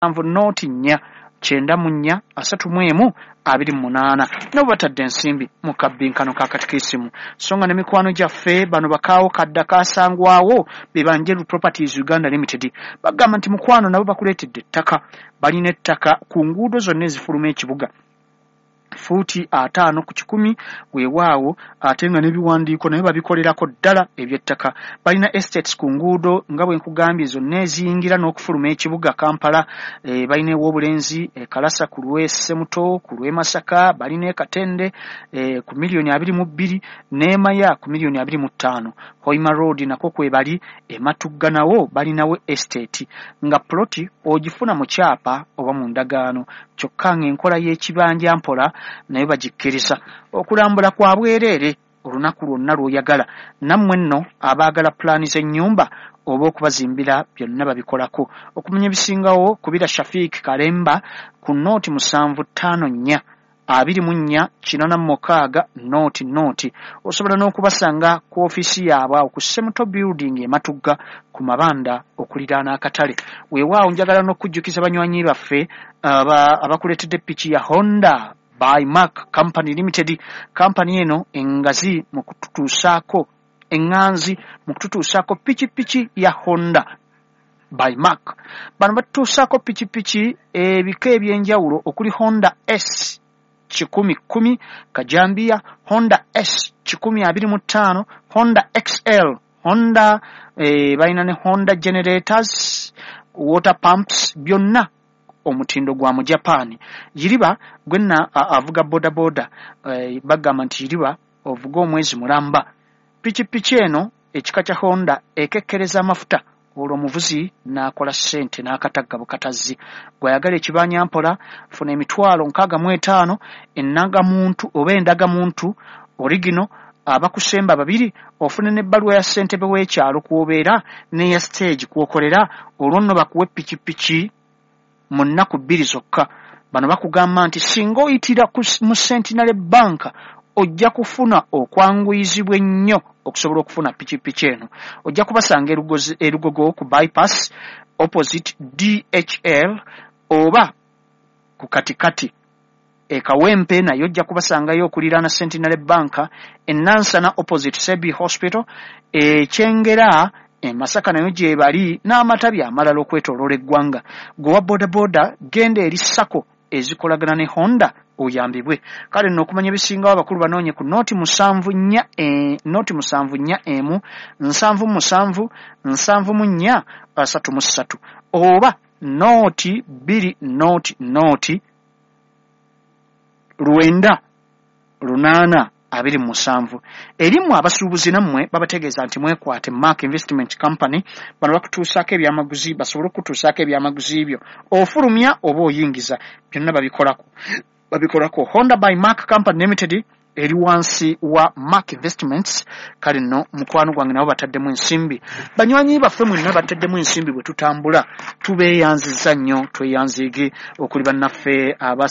7 0 94 31 28. Nabo batadde ensimbi mu kabbinkano ka katikisimu. So nga ne mikwano gyaffe bano bakaawo kadda kasangwawo be Banjeru Properties Uganda Limited, bagamba nti mukwano nabo bakuleetedde ettaka. Balina ettaka ku nguudo zonna ezifuluma ekibuga, fuuti 50 ku 100. Weewaawo, ate nga n'ebiwandiiko naye babikolerako ddala eby'ettaka. Balina estates ku nguudo nga bwe nkugambye zonna eziyingira n'okufuluma ekibuga Kampala. Balina ew'Obulenzi e Kalasa ku lw'e Semuto, ku lw'e Masaka balina e Katende ku miliyoni 22, n'e Maya ku miliyoni 25. Hoima Road nako kwebali. E Matugga nawo balinawo estate, nga ploti ogifuna mu kyapa oba mu ndagaano, kyokka ng'enkola y'ekibanja mpola nayo bagikkiriza. Okulambula kwa bwereere olunaku lwonna lw'oyagala. Nammwe nno abaagala pulaani z'ennyumba oba okubazimbira, byonna babikolako. Okumanya ebisingawo, kubira Shafik Kalemba ku 0 754 24 86 00. Osobola n'okubasanga ku ofiisi yaabwe awo ku Semuto Building e Matugga ku mabanda okuliraana akatale. Weewaawo, njagala n'okujjukiza banywanyi baffe abakuleetedde piki ya Honda by Mark Company Limited. Kampani eno engazi mu kututuusaako, eŋŋanzi mu kututuusaako pikipiki ya Honda by Mark. Bano batutuusaako pikipiki ebika ebyenjawulo okuli Honda S 110 kajambiya, Honda S 125, Honda XL, Honda balina ne Honda generators, water pumps, byonna omutindo gwa mu Japan. Yiriba gwenna avuga bodaboda, bagamba nti yiriba ovuga omwezi mulamba. Pikipiki eno ekika kya Honda ekekkereza amafuta, olwo omuvuzi n'akola ssente n'akatagga bukatazzi. Gw'ayagala ekibanya mpola, funa 65,000, ennagamuntu oba endagamuntu original, abakusemba babiri, ofune n'ebbaluwa ya ssentebe w'ekyalo kw'obeera n'eya stage kw'okolera, olwo nno bakuwe pikipiki mu nnaku 2 zokka. Bano bakugamba nti singa oyitira mu Centenary Bank, ojja kufuna okwanguyizibwa ennyo okusobola okufuna pikipiki eno. Ojja kubasanga e Lugogo ku bypass opposite DHL, oba ku katikati e Kawempe naye ojja kubasangayo okuliraana Centenary Bank, e Nansana opposite Sebi Hospital, Ekyengera e Masaka nayo gyebali, n'amatabi amalala okwetooloola eggwanga. Gwe wa bodaboda, genda eri SACCO ezikolagana ne Honda oyambibwe. Kale nno okumanya ebisingawo, abakulu banoonye ku 0 7 4 0 7 4 1 77 74 33, oba 0 2 0 0 9 8 27. Erimu abasuubuzi nammwe babategeeza nti mwekwate Mark Investment Company. Bano bakutuusaako ebyamaguzi, basobole okutuusaako ebyamaguzi byo, ofulumya oba oyingiza, byonna babikolako. Honda by Mark Company Limited eri wansi wa Mark Investments. Kale nno mukwano gwange, nabo bataddemu ensimbi. Banywanyi baffe mwenna bataddemu ensimbi bwe tutambula, tubeeyanziza nnyo, tweyanziige. Okuli bannaffe aba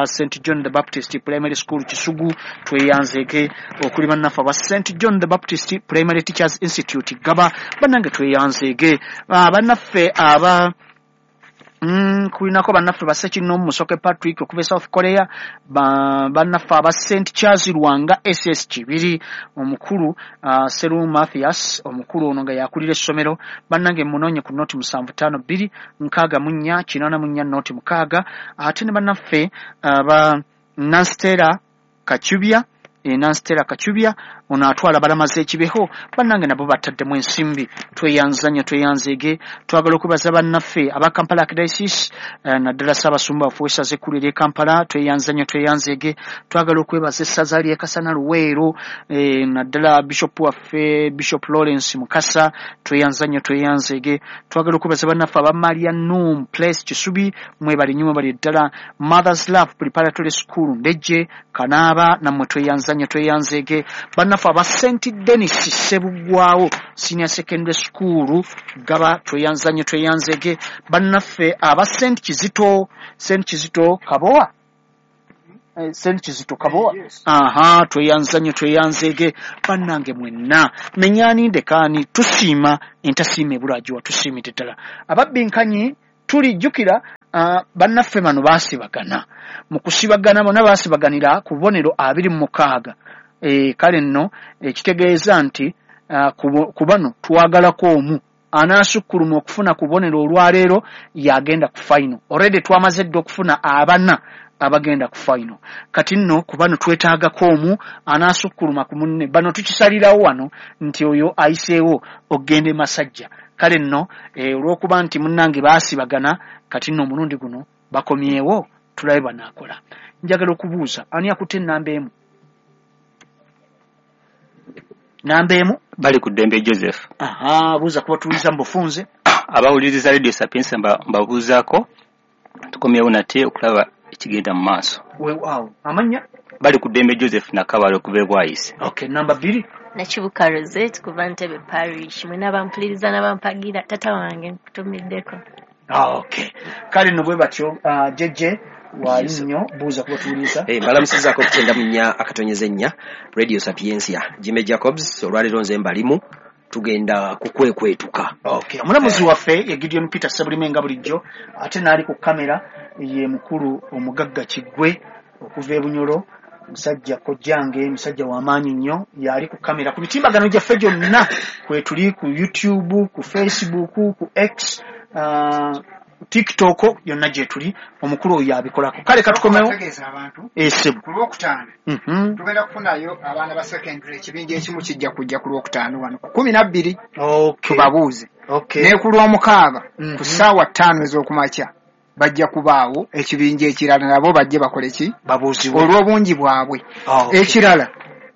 St John the Baptist Primary School Kisugu, tweyanziige. Okuli bannaffe aba St John the Baptist Primary Teachers Institute Gaba, bannange tweyanziige. Bannaffe aba kulinako bannaffe basekinoomu Musoke Patrick okuva e South Korea, bannaffe aba St Charles Lwanga SS Kibiri, omukulu Seru Mathias, omukulu ono nga yakulira essomero, bannange munoonye ku 0 752 64 84 06. Ate ne bannaffe aba Nanstera Kacubya, Nanstera Kacubya ono atwala balamaze ekibeho, bannange nabo bataddemu ensimbi. Tweyanza nnyo, tweyanzeege. Twagala okwebaza bannaffe aba Kampala Archdiocese, naddala Ssaabasumba waffe w'essaza ekkulu ery'e Kampala. Tweyanza nnyo, tweyanzeege. Twagala okwebaza essaza ly'e Kasana Luweero, naddala bishop waffe Bishop Lawrence Mukasa. Tweyanza nnyo, tweyanzeege. Twagala okwebaza bannaffe aba Maria Num Place Kisubi, mwebale nnyo, mwebale ddala. Mothers Love Preparatory School Ndejje Kanaaba, nammwe tweyanza nnyo, tweyanzeege. Bannaffe aba St Denis Ssebuggwawo Senior Secondary School Gaba, tweyanza nnyo, tweyanzeege. Bannaffe aba St Kizito, St Kizito Kabowa, St Kizito Kabowa, aha, tweyanza nnyo, tweyanzeege. Bannange mwenna, menyani ndekaani, tusiima entasiima ebulagiwa, tusiimidde ddala ababbinkanyi. Tulijjukira bannaffe bano baasibagana. Mu kusibagana bonna baasibaganira ku bubonero 26. Kale nno ekitegeeza nti ku bano twagalako omu anaasukkuluma okufuna ku bubonero olwaleero yagenda ku final. Already twamaze dda okufuna abana abagenda ku final. Kati nno ku bano twetaagako omu anaasukkuluma ku munne. Bano tukisalirawo wano nti oyo ayiseewo okugenda e Masajja. Kale nno olw'okuba nti munnange baasibagana, kati nno omulundi guno bakomyewo tulabe banaakola. Njagala okubuuza ani akutte ennamba emu? Namba emu bali ku Ddembe Joseph. Aha, buuza kuba tuwuliriza mu bufunze. Abawuliriza Radio Sapientia mbabuuzaako, tukomyewo nate okulaba ekigenda mu maaso. Weewaawo. Amannya? Bali ku Ddembe Joseph Nakabale okuva e Bwayise. Okay, namba 2. Nakibuka Rosette kuva Ntebe Parish. Mwena bampuliriza n'abampagira, tata wange nkutumiddeko. Okay. Kale nno bwe batyo JJ wali nnyo, buuza kuba tuwuliriza. Mbalamusizaako ku 94.4 Radio Sapientia. Jimmy Jacobs, olwaleero nze mbalimu, tugenda kukwekwetuka. Okay. Omulamuzi waffe ye Gideon Peter Ssebulime nga bulijjo, ate n'ali ku kamera ye mukulu omugagga Kiggwe okuva e Bunyoro, musajja kojjange, musajja w'amaanyi nnyo, yali ku kamera ku mitimbagano gyaffe gyonna kwetuli, ku YouTube, ku Facebook, ku X, TikTok, yonna gye tuli, omukulu oyo yabikolako. Kale katukomewo. Esebo. Ku Lwokutaano tugenda kufunayo abaana ba secondary, ekibinja ekimu kijja kujja ku Lwokutaano wano ku 12. Tubabuuze. Ne ku Lwomukaaga ku ssaawa 5 ez'okumakya bajja kubaawo ekibinja ekirala, nabo bajje bakole ki? Babuuzibwe olw'obungi bwabwe. Ekirala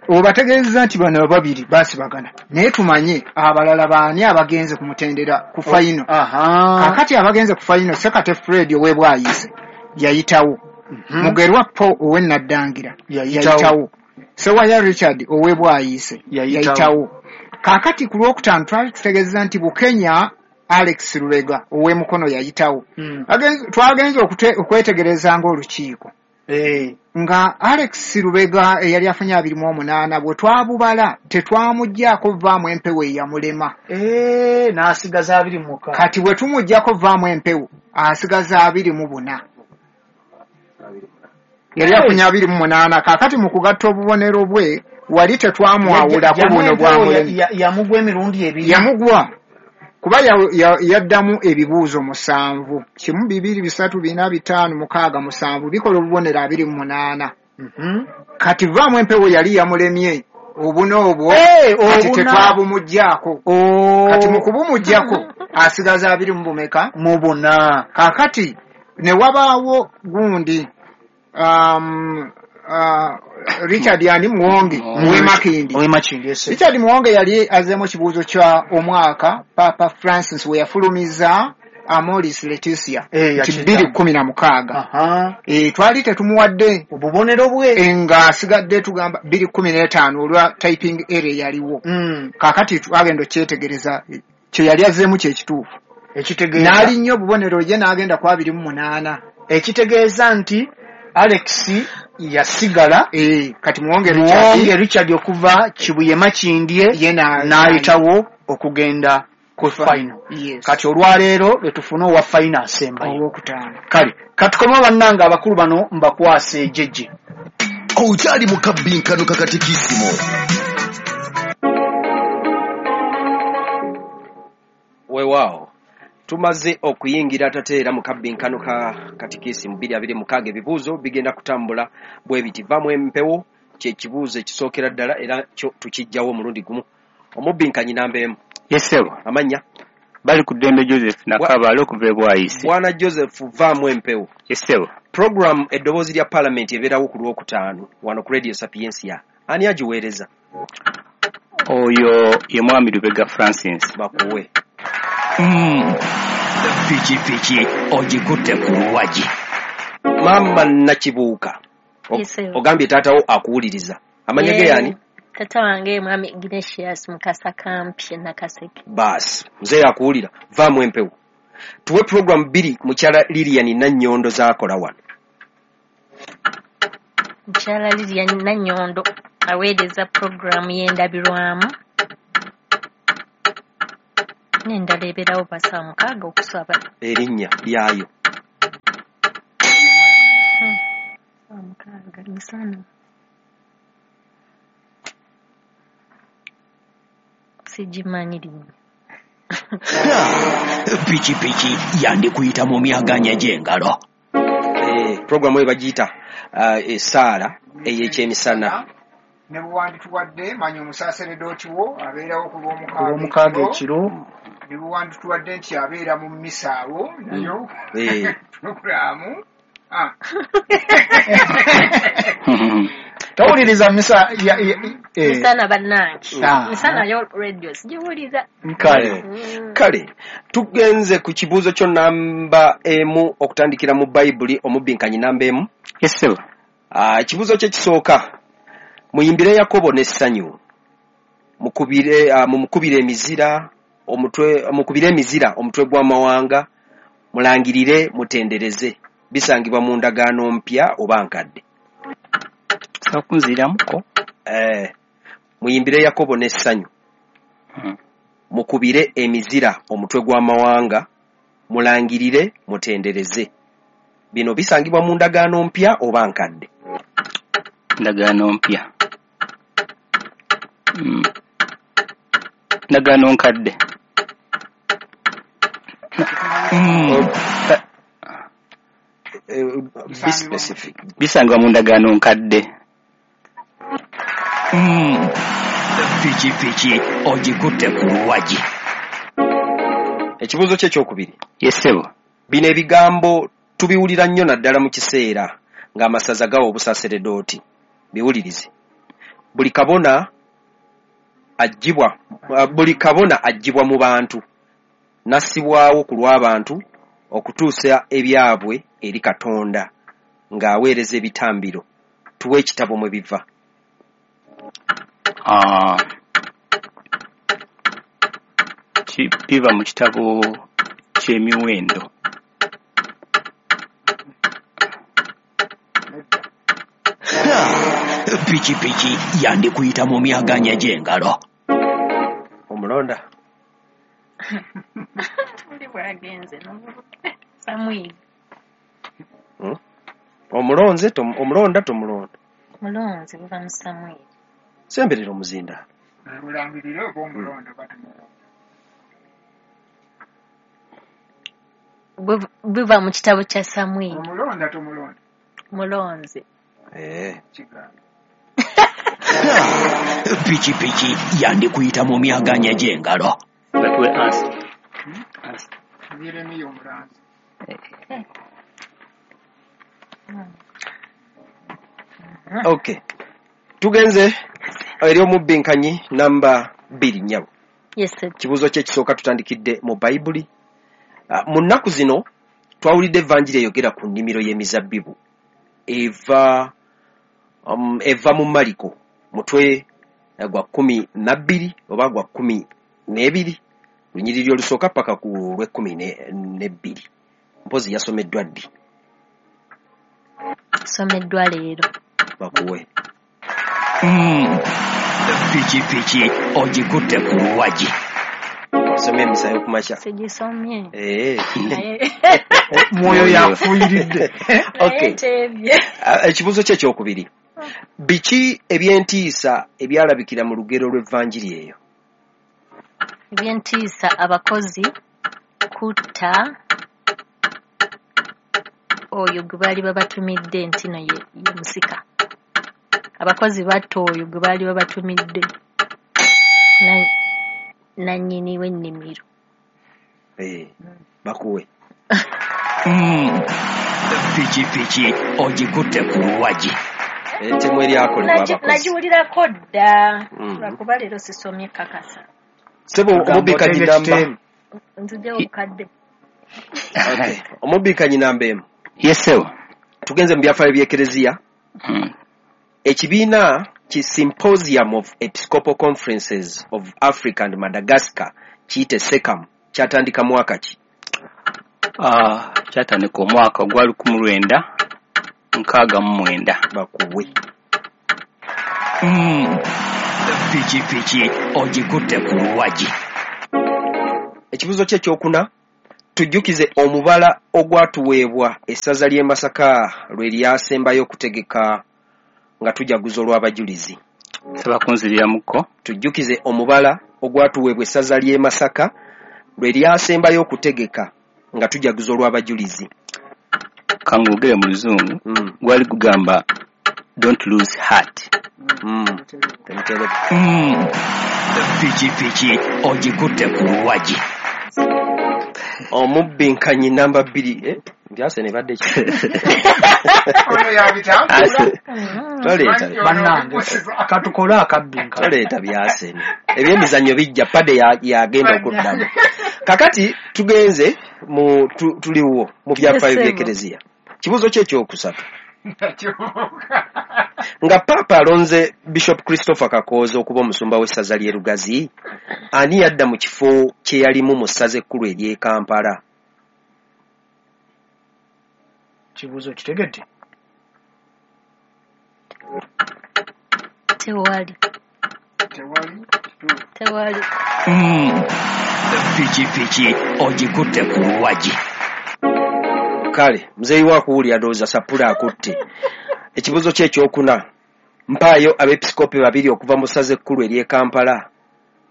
obategeeza nti bano babiri baasibagana, naye tumanye abalala baani abagenze ku mutendera ku final. Kaakati abagenze ku final, Sekate Fred ow'e Bwayise yayitawo, Mugerwa Paul ow'e Naddangira yayitawo, Sewaya Richard ow'e Bwayise yayitawo. Kaakati ku Lwokutaano twali tutegeeza nti Bukenya Alex Lubega ow'e Mukono yayitawo. Twagenze okwetegereza ng'olukiiko nga Alex Lubega eyali afunye 28 bwe twabubala tetwamuggyako vaamu empewo eyamulema. N'asigaza 26. Kati bwe tumuggyako vaamu empewo asigaza 24. Yali afunye 28. Kaakati mu kugatta obubonero bwe wali tetwamwawulako buno bwamulema. Yamugwa emirundi ebiri. Yamugwa kuba yaddamu ebibuuzo 7, 1 2 3 4 5 6 7 bikola obubonero 28. Kati vaamu empewo yali yamulemye obuna obwo, kati tetwabumuggyako. Kati mu kubumuggyako asigaza 20 bumeka? Mu buna. Kaakati ne wabaawo gundi Richard yani Muwonge ow'e Makindye. Richard Muwonge yali azzeemu ekibuuzo kya omwaka Papa Francis we yafulumiza Amoris Laetitia nti 2016. Twali tetumuwadde obubonero bwe nga asigadde tugamba 2015 olwa typing error yaliwo. Kaakati twagenda okyetegereza kye yali azzeemu kye kituufu. N'alinnya obubonero ye n'agenda ku 28. Ekitegeeza nti Alex yasigala kati Muwonge Richard okuva Kibuye Makindye n'ayitawo okugenda ku final. Kati olwaleero lwe tufuna owa final asembayo Olwokutaano. Kale katukome bannange abakulu bano mbakwase ejjejje. Okyali mu kabbinkano kakatikisimu. Weewaawo tumaze okuyingira tateera mu kabbinkano ka katikisimu 2026. Ebibuuzo bigenda kutambula bwe biti. Vaamu empewo kye kibuuzo ekisookera ddala era kyo tukijjawo omulundi gumu. Omubbinkanyi namba emu. Yesebo. Amannya? Bali ku Ddembe Joseph Nakabale okuva e Bwayise. Bwana Joseph, vaamu empewo. Yesebo. Program eddoboozi lya Paalamenti ebeerawo ku Lwokutaano wano ku Radio Sapientia. Ani agiweereza? Oyo ye Mwami Lubega Francis. Bakuwe. Pikipiki ogikutte ku luwagi. Maama Nakibuuka, ogambye taatawo akuwuliriza. Amannya ge yani? Tata wange Mwami Ignatius Mukasa Kampi Nakaseke. Baasi, mzee akuwulira, vaamu empewo. Tuwe program 2 mukyala Lilian Nannyondo z'akola wano. Mukyala Lilian Nannyondo aweereza puroguraamu y'endabirwamu. N'endala ebeerawo pa 6:00 okusaba. Erinnya lyayo. 6:00 misana. Sigimanyi linnya. Pikipiki yandikuyita mu myaganya gy'engalo. Programu eyo bagiyita essaala ey'ekyemisana. Ne bwewandituwadde manya omusaseredooti wo abeerawo ku lw'omukaaga ekiro. Ne bwewandituwadde nti abeera mu mmisa awo nayo pulogulaamu. Tawuliriza misa misana bannange. Misana yo radio sigiwuliriza. Kale. Kale tugenze ku kibuuzo kyo namba 1 okutandikira mu Bayibuli omubinkanyi namba 1. Yes sir. Ekibuuzo kye kisooka. Muyimbire Yakobo n'essanyu. Mumukubire emizira omutwe gw'amawanga, mulangirire mutendereze. Bisangibwa mu ndagaano mpya oba nkadde. Sakunziramuko. Muyimbire Yakobo n'essanyu. Mukubire emizira omutwe gw'amawanga, mulangirire mutendereze. Bino bisangibwa mu ndagaano mpya oba nkadde. Ndagaano mpya. Ndagaano nkadde. Be specific. Bisangibwa mu ndagaano nkadde. Pikipiki ogikutte ku luwagi. Ekibuuzo kye ekyokubiri. Yes sir. Bino ebigambo tubiwulira nnyo naddala mu kiseera ng'amasaza gawa obusaseredooti. Biwulirize. Buli kabona aggyibwa mu bantu n'assibwawo ku lw'abantu okutuusa ebyabwe eri Katonda ng'aweereza ebitambiro. Tuwe ekitabo mwe biva. Biva mu kitabo ky'emiwendo. Pikipiki yandikuyita mu myaganya gy'engalo. Omulonda. Buli bwagenze Samwiri. Omulonze omulonda tomulonda. Mulonze buva mu Samwiri. Semberera omuzinda. Mulangirire oba omulonda batumulonda. Buva mu kitabo kya Samwiri. Omulonda tomulonda. Mulonze. Kigambo. Pikipiki yandikuyita mu myaganya gy'engalo. Batuwe answer. Yeremiya omulanzi. Okay. Tugenze eri omubinkanyi namba 2 nnyabo. Yes sir. Kibuuzo kye kisooka tutandikidde mu Bayibuli. Mu nnaku zino twawulidde evanjiri eyogera ku nnimiro y'emizabbibu eva mu Mariko mutwe gwa 12 oba gwa 12 lunyiriri olusooka paka ku lw'e12. Mpozi yasomeddwa ddi? Someddwa leero. Bakuwe. Pikipiki ogikutte ku luwagi. Osomye emisa y'okumakya. Sigisomye. Mwoyo yafuuyiridde. Okay. Ekibuuzo kye ekyokubiri. Biki eby'entiisa ebyalabikira mu lugero lw'evanjiri eyo? Eby'entiisa abakozi kutta oyo gwe baali babatumidde nti no ye musika. Abakozi batta oyo gwe baali babatumidde nannyini w'ennimiro. Bakuwe. Pikipiki ogikutte ku luwagi. Ettemu eryakolebwa abakozi. Nagiwulirako dda. Lwakuba leero sisomye kakasa. Sebo omubbikanyi namba. Nzigyewo obukadde. Okay. Omubbikanyi namba 1. Yes sir. Tugenze mu byafaayo by'Ekereziya. Ekibiina ki Symposium of Episcopal Conferences of Africa and Madagascar kiyite SECAM kyatandika mwaka ki? Kyatandika omwaka gwa 1969. Bakuwe. Pikipiki ogikutte ku luwagi. Ekibuuzo kye ekyokuna, tujjukize omubala ogwatuweebwa essaza ly'e Masaka lwe lyasembayo okutegeka nga tujaguza olw'abajulizi. Nsaba kunziriramuko. Tujjukize omubala ogwatuweebwa essaza ly'e Masaka lwe lyasembayo okutegeka nga tujaguza olw'abajulizi. Kangogere mu Luzungu. Gwali gugamba don't lose heart. Temuterebu. Pikipiki ogikutte ku luwagi. Omubbinkanyi namba 2 ndyase ne badde ki? Ono yabitambula. Toleeta Bannange, katukole akabbinkano. Toleeta byasene. Ebyemizannyo bijja, pade yagenda okuddamu. Kakati tugenze mu tuliwo mu byafaayo by'Ekereziya. Kibuuzo kye ekyokusatu. Nga Paapa alonze Bishop Christopher Kakooza okuba omusumba w'essaza ly'e Lugazi, ani yadda mu kifo kye yalimu mu ssaza ekkulu ery'e Kampala? Kibuuzo kitegedde? Tewali. Tewali. Pikipiki ogikutte ku luwagi. Kale, muzeeyi wa kuwulira ndowooza sapula akutte. Ekibuuzo kye ekyokuna, mpaayo abeepisikoopi babiri okuva mu ssaza ekkulu ery'e Kampala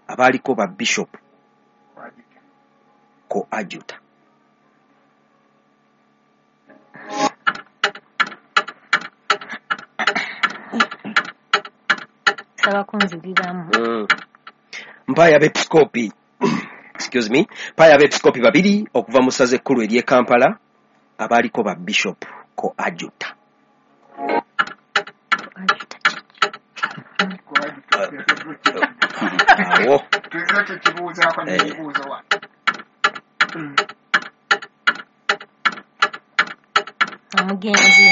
abaaliko ba bishop ko ajuta. Nsaba kunziriramu. Mpaayo abeepisikoopi excuse me, mpaayo abeepisikoopi babiri okuva mu ssaza ekkulu ery'e Kampala abaaliko ba bishop ko ajuta. Awo. Tuzo tukibuuzaako n'ebibuuzo wano. Omugenzi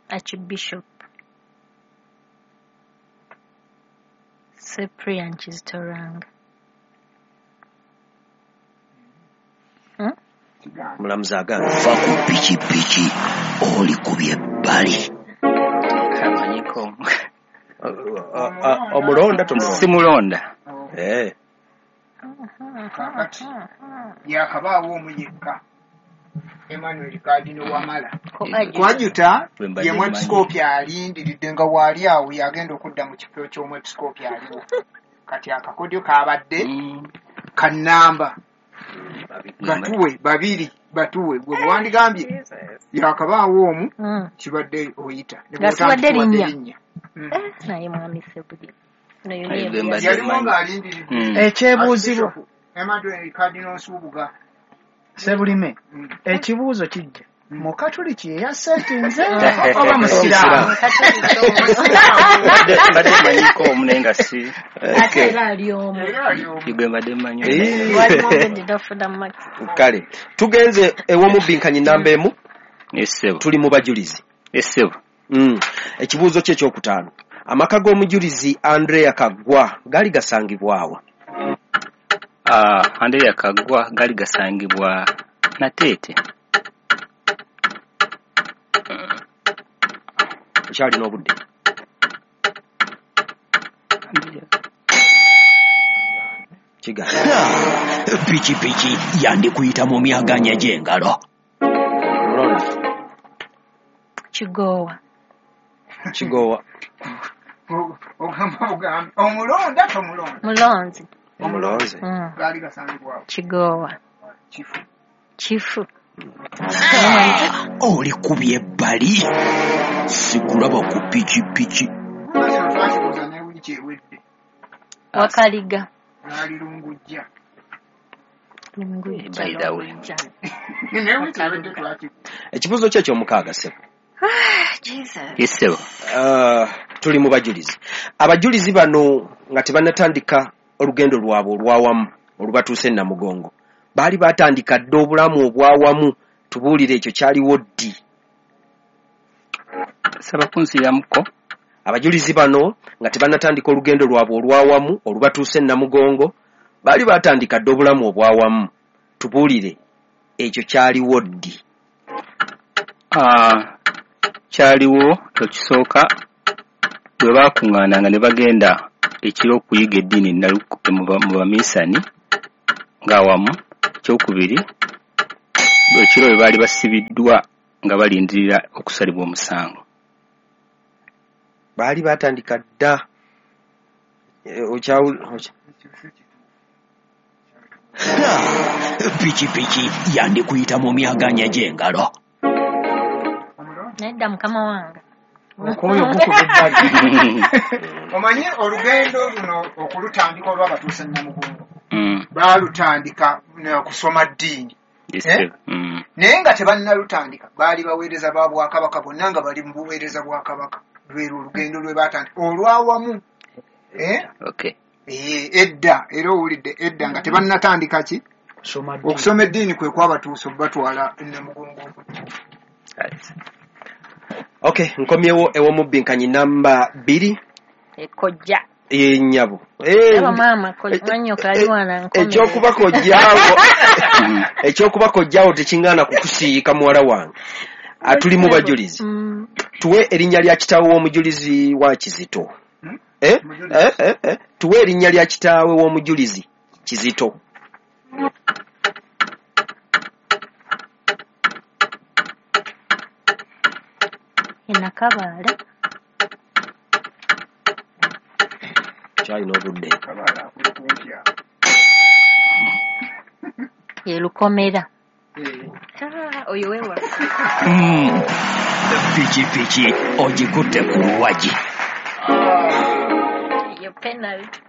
Archbishop Cyprian Kizito Lwanga. Mulamuzi agamba. Va ku pikipiki olikubye ebbali. Amanyiko. Omulonda tomulonda? Simulonda. Kakati yakabaawo omu yekka, Emmanuel Cardinal Wamala. Kwajuta ye mwepisikoopi alindiridde nga waali awo yagenda okudda mu kifo ky'omwepisikoopi aliwo. Kati akakodyo kabadde kannamba batuwe babiri, batuwe gwe bwandigambye yakabaawo omu kibadde oyita. Nga sibadde linnya. Naye mwami Sebuli. Yaliwo ng'alindiridde. Ekyebuuzibwa. Emmanuel Cardinal Nsubuga. Sebulime, ekibuuzo kijja. Mukatuliki ye yasetinze oba musiraamu? Mbadde mmanyiko omu naye nga si. Ate era ali omu. Gwe mbadde mmanyi. Kale, tugenze ew'omubbinkanyi namba 1. Tuli mu bajulizi. Essebo. Ekibuuzo kye ekyokutaano. Amaka g'omujulizi Andrea Kaggwa gaali gasangibwa wa? Andrea Kaggwa gaali gasangibwa Nateete. Okyalina obudde. Kigaana. Pikipiki yandikuyita mu myaganya gy'engalo. Mulonda. Kigoowa. Kigoowa. Ogamba ogambe omulonda tomulonda? Mulonzi. Omulonzi. Gaali gasangibwa Kigoowa. Kifu. Kifu. Oli kubye ebbali. Sikulaba ku pikipiki. Twakibuuza ne wiiki ewedde. Wakaliga. Lwali Lungujja. Lungujja. By the way. Ne wiiki ewedde twakibuuza. Ekibuuzo kye ekyomukaaga ssebo. Yes, ssebo. Tuli mu bajulizi. Abajulizi bano nga tebannatandika olugendo lwabwe olw'awamu olubatuuse e Namugongo, baali batandika dda obulamu obw'awamu. Tubuulire ekyo kyaliwo ddi? Saba kunziramuko. Abajulizi bano nga tebannatandika olugendo lwabwe olw'awamu olubatuuse e Namugongo, baali batandika dda obulamu obw'awamu. Tubuulire ekyo kyaliwo ddi? Kyaliwo ekisooka bwe baakuŋŋaananga ne bagenda ekiro okuyiga eddiini mu baminsani, Ng'awamu. Ekyokubiri, ekiro bwe baali basibiddwa nga balindirira okusalibwa omusango. Baali batandika dda. Pikipiki yandikuyita mu myaganya gy'engalo. Nedda mukama wange. Okoyo gukuba ebbali. Omanye olugendo luno okulutandika olwabatuusa Namugongo, baalutandika kusoma ddiini. Naye nga tebannalutandika baali baweereza ba bwakabaka bonna nga bali mu buweereza bwa kabaka. Lwero olugendo lwe batandika olwawamu. Edda era owulidde edda nga tebannatandika ki okusoma eddiini kwe kwabatuusa obatwala Namugongo. Okay, nkomyewo ew'omubbinkanyi namba 2. Ekojja. Nnyabo. Ekyokuba kojjaawo tekiŋŋaana kukusiiyika muwala wange. Atuli mu bajulizi. Tuwe erinnya lya kitaawe w'omujulizi wa Kizito. Tuwe erinnya lya kitaawe w'omujulizi Kizito. Nakabaale. Kyalina obudde. Ye Lukomera. Oyo wewa. Pikipiki ogikutte ku luwagi. Yo penalty.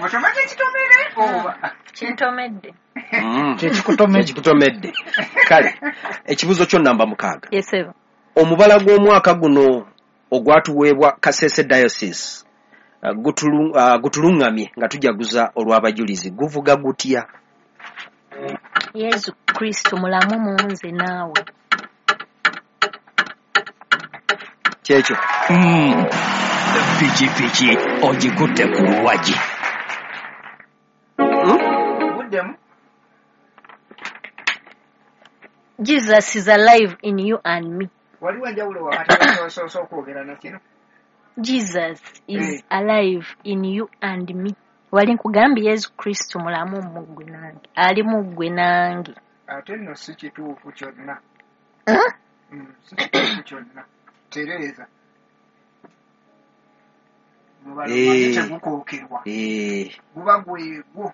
Otomedde kitomere oba? Kintomedde. Kyekikutomedde. Kale, ekibuuzo kyo namba 6. Yes, sir. Omubala gw'omwaka guno ogwatuweebwa Kasese Diocese gutulungamye nga tujaguza olw'abajulizi guvuga gutya? Yesu Kristo mulamu mu nze naawe. Kyekyo. Pikipiki ogikutte ku luwagi. Buddemu. Jesus is alive in you and me. Waliwo enjawulo wakati w'osoose okwogera na kino? Jesus is alive in you and me. Wali nkugambye Yesu Kristo mulamu mu ggwe nange. Ali mu ggwe nange. Ate nno si kituufu kyonna. Si kituufu kyonna. Tereeza. Mubala tegukookerwa. Guba gwegwo.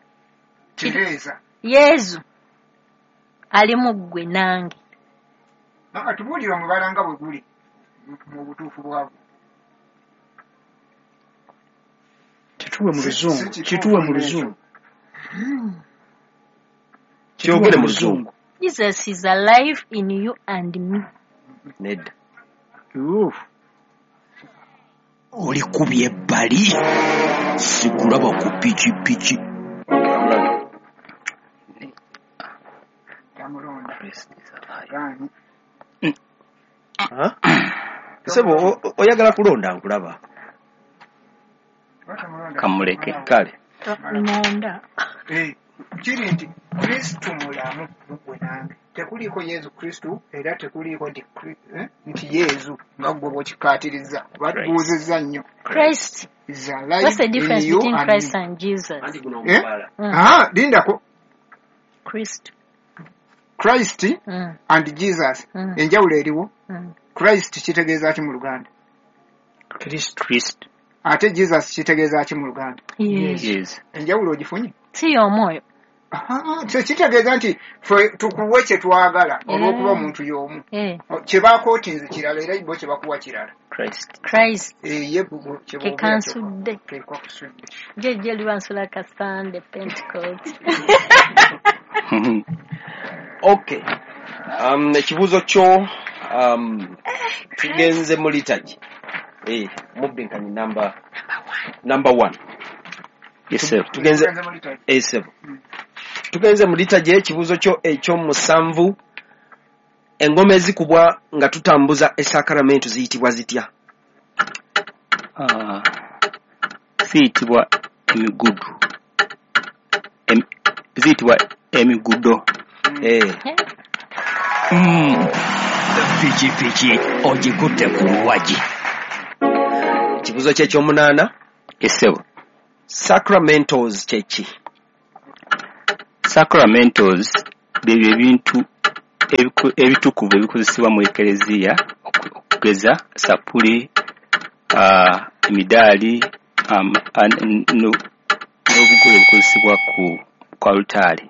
Tereeza. Yesu ali mu ggwe nange. Tubuulire omubala nga bwe guli mu butuufu bwagwo. Kituwe mu luzungu. Kituwe mu luzungu. Kyogere mu luzungu. Jesus is alive in you and me. Nedda. Olikubye ebbali. Sikulaba ku pikipiki. Sebo oyagala kulonda nkulaba. Kamuleke. Kale. Nonda. Kiri nti Kristo mulamu mu ggwe nange. Tekuliiko Yesu Kristo era tekuliiko nti Yesu nga ggwe bw'okikkaatiriza. Batubuuzizza nnyo. Christ is alive. What's the difference between Christ and Jesus? Lindako. Christ. Christ and Jesus. Enjawulo eriwo. Christ kitegeeza ki mu Luganda? Christ. Ate Jesus kitegeeza ki mu Luganda? Yes. Enjawulo ogifunye? Si y'omwoyo. Kitegeeza nti ffe tukuwe kye twagala olw'okuba omuntu y'omu. Kye baakootinze kirala era bo kye bakuwa kirala. Christ. Ye kye kansudde. Jjejje libansula ka Sunday Pentecost. Okay. Ekibuuzo kyo tugenze mu liturgy. Mubbinkanyi namba 1. Yes, sir. Tugenze tugenze mu liturgy. Ekibuuzo kyo eky'omusanvu, engoma ezikubwa nga tutambuza esakaramento ziyitibwa zitya? Ziyitibwa emigudu. Ziyitibwa emigudo. Pikipiki ogikutte ku luwagi. Ekibuuzo kye eky'omunaana. Yes, sir. Sacramentals kye ki? Sacramentals byebyo ebintu ebitukuvu ebikozesebwa mu ekereziya, okugeza sapuli, emidaali, n'obugole obukozesebwa ku alutaari.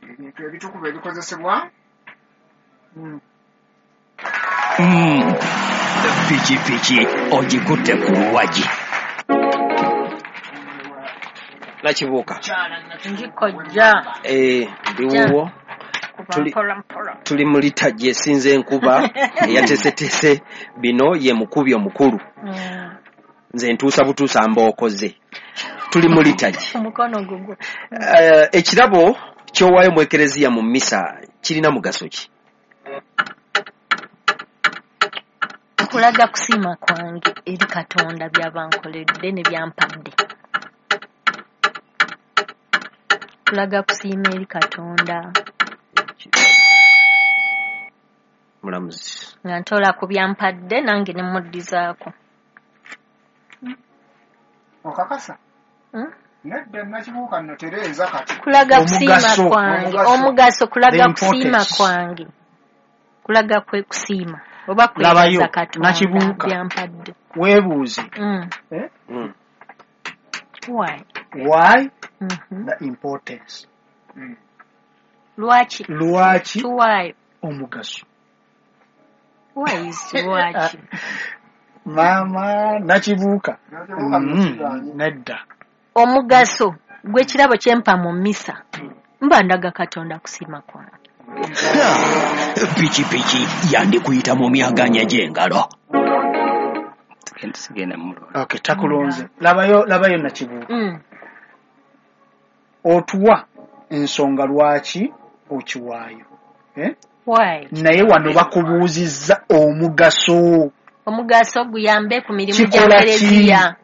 Ebintu ebitukuvu ebikozesebwa. Pikipiki ogikutte ku luwagi. Nakibuuka. Ngikojja. Ndiwuwo. Tuli mu liturgy esinza enkuba eyateeseteese bino ye mukubi omukulu. Nze ntuusa butuusa mbookoze. Tuli mu liturgy. Omukono gugwo. Ekirabo ky'owaayo mu ekereziya mu mmisa kirina mugaso ki? Kulaga kusiima kwange eri Katonda by'aba nkoledde ne byampadde. Kulaga kusiima eri Katonda. Mulamuzi. Nga ntola ku byampadde nange ne muddizaako. Okakasa? Nedda Nakibuuka nno tereeza kati. Kulaga kusiima kwange. Omugaso kulaga kusiima kwange. Kulaga kwe kusiima. Oba kwebaza Katonda byampadde. Weebuuze. Why? Why? The importance. Lwaki? Lwaki? Tuwaayo. Omugaso. Why is lwaki? Maama Nakibuuka. Nedda. Omugaso gw'ekirabo kyempa mu mmisa mba ndaga Katonda kusiima kwange. Pikipiki yandikuyita mu myaganya gy'engalo. Okay, takulonze. Labayo Nakibuuka. Otuwa ensonga lwaki okiwaayo. Why? Naye wano bakubuuzizza omugaso. Omugaso guyambe ku mirimu gya kereziya.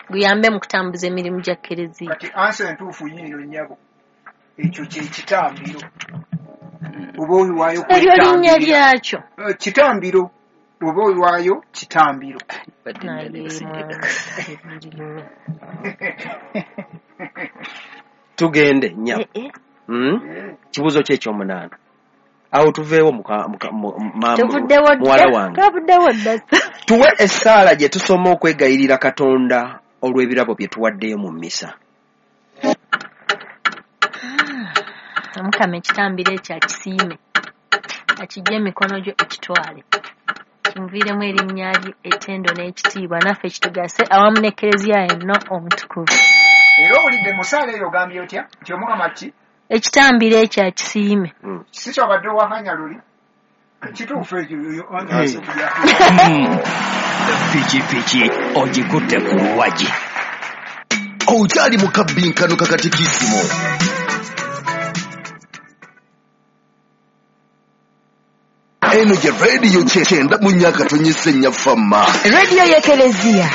Guyambe mu kutambuza emirimu gya kereziya. Kati ansa entuufu yiino nnyabo. Ekyo kye kitambiro. Oba oyiwaayo eryo linnya lyakyo. Kitambiro. Oba oyiwaayo kitambiro. Tugende nnyabo. Kibuuzo kye eky'omunaana. Awo tuveewo muwala wange. Tuwe essaala gye tusoma okwegayirira Katonda olw'ebirabo bye tuwaddeyo mu mmisa. Omukama ekitambiro ekyo akisiime, akijje emikono gyo ekitwale, kimuviiremu erinnya lye ettendo n'ekitiibwa, naffe kitugase awamu n'Ekereziya yenna omutukuvu. Era owulidde mu ssaala eyo ogambye otya nti Omukama ki? Ekitambiro ekyo akisiime. Si kyobadde owakanya luli? Kituufu ekyo. Pikipiki ogikutte ku luwagi. Okyali mu kabbinkano ka katikisimu. Eno gye rediyo 94.4 Fama. Rediyo y'Ekereziya.